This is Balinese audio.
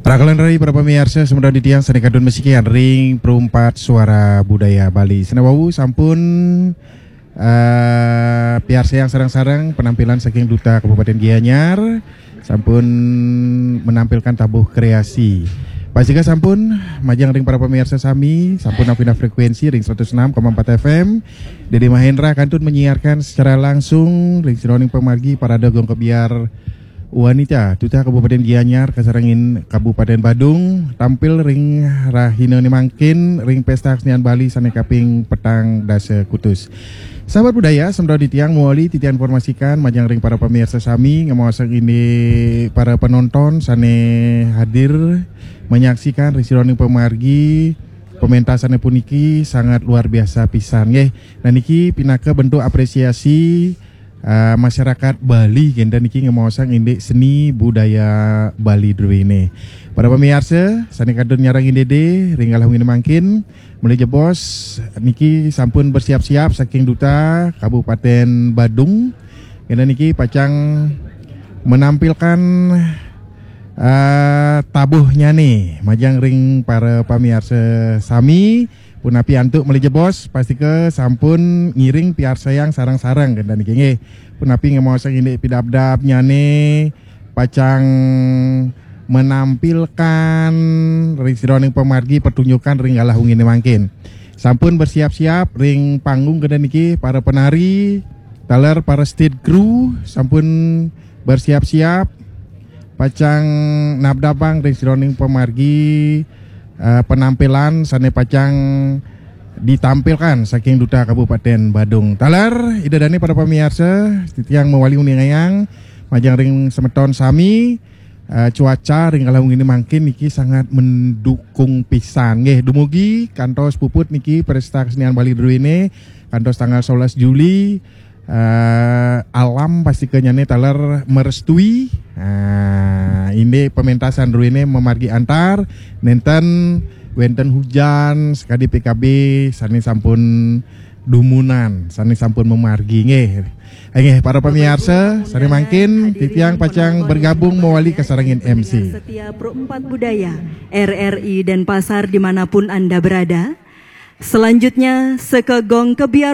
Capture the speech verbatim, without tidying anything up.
Rakalan rai para pamiarsa, semeton titiang sané kantun masikian ring Perumpat Suara Budaya Bali. Sané wau sampun eh, piarsayang sareng-sareng penampilan saking Duta Kabupaten Gianyar, sampun menampilkan tabuh kreasi. Pastika sampun majeng ring para pamiarsa sami, sampun nampina frekuensi ring seratus enam koma empat F M. Dede Mahendra kantun menyiarkan secara langsung ring sajeroning pamargi Parade Gong Kebyar Wanita Duta Kabupaten Gianyar kasarengin Kabupaten Badung tampil ring rahinané mangkin ring Pesta Kesenian Bali sané kaping petang dasa kutus. Sahabat budaya, semeton titiang mawali titiang informasikan majeng ring para pamiarsa sami, ngamaosang indik para penonton sané hadir menyaksikan ring sajeroning pamargi pementasané puniki sangat luar biasa pisan nggih. Nah, niki pinaka bentuk apresiasi eh, masyarakat Bali kénten niki ngemaosang indik seni budaya Bali druéné. Para pamiarsa, sané kantun nyarengin Dede ring galah wenginé mangkin, malih jebos niki sampun bersiap-siap saking Duta Kabupaten Badung. Kénten niki pacang menampilkan eh, tabuhnyané majeng ring para pamiarsa sami. Punapi antuk malih jebos, pastika sampun ngiring piarsayang sareng-sareng kénten niki nggih. Punapi ngemaosang indik pidabdabnyané pacang menampilkan ring sajeroning pamargi pertunjukan ring galah wenginé mangkin. Sampun bersiap-siap ring panggung kénten niki para penari, taler para stage crew sampun bersiap-siap pacang nabdabang ring sajeroning pamargi eh, penampilan sané pacang ditampilkan saking Duta Kabupaten Badung. Taler, Ida dané para pamiarsa, titiang mawali uningayang majeng ring semeton sami, eh, cuaca ring galah wenginé mangkin niki sangat mendukung pisan nggih. Dumugi kantos puput niki Pesta Kesenian Bali druéné kantos tanggal sebelas Juli, eh, alam pastika nyané taler merestui. Nah, indik pementasan druéné mamargi antar, nénten wénten hujan, sakadi P K B sané sampun dumunan, sané sampun mamargi nggih. Inggih, para pamiarsa, sané mangkin titiang pacang bergabung mawali kasarengin M C. Setia Pro empat Budaya, R R I Denpasar dimanapun Anda berada. Selanjutnya, Seka Gong Kebyar